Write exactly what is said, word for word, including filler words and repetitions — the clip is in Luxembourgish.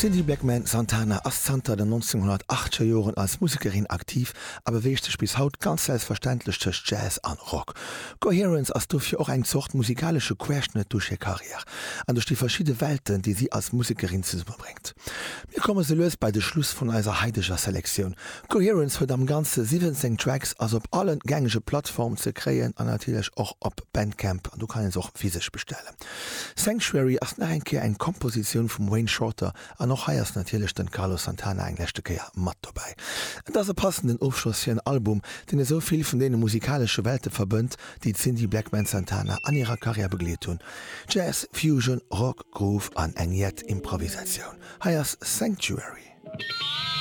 D'Cindy Blackman Santana ass zanter den neunzehnhunnertachteger Joren als Musekerin aktiv a beweegt sech bis haut ganz selbstverständlech tëscht Jazz an Rock. Coherence ass dofir och eng Zort musikalesche Querschnëtt duerch hir Karriär an duerch déi verschidde Welten, déi si als Musekerin zesummebréngt. Mir komme sou lues bei de Schluss vun eiser haiteger Selektioun. Coherence huet am Ganze siwwenzéng Tracks, ass op alle gängege Plattformen ze kréien an natierlech och op Bandcamp an do kann een se och physesch bestellen. Sanctuary ass nach eng Kéier eng Kompositioun vum Wayne Shorter an och hei ass natierlech den Carlos Santana eng leschte Kéier mat dobäi. Et ass e passenden Ofschloss fir en Album, deen esou vill vun deene musikalesche Welte verbënnt, déi d'Cindy Blackman Santana an hirer Karriär begleet hunn. Jazz, Fusion, Rock, Groove an eng jett Improvisatioun. Hei ass Sanctuary.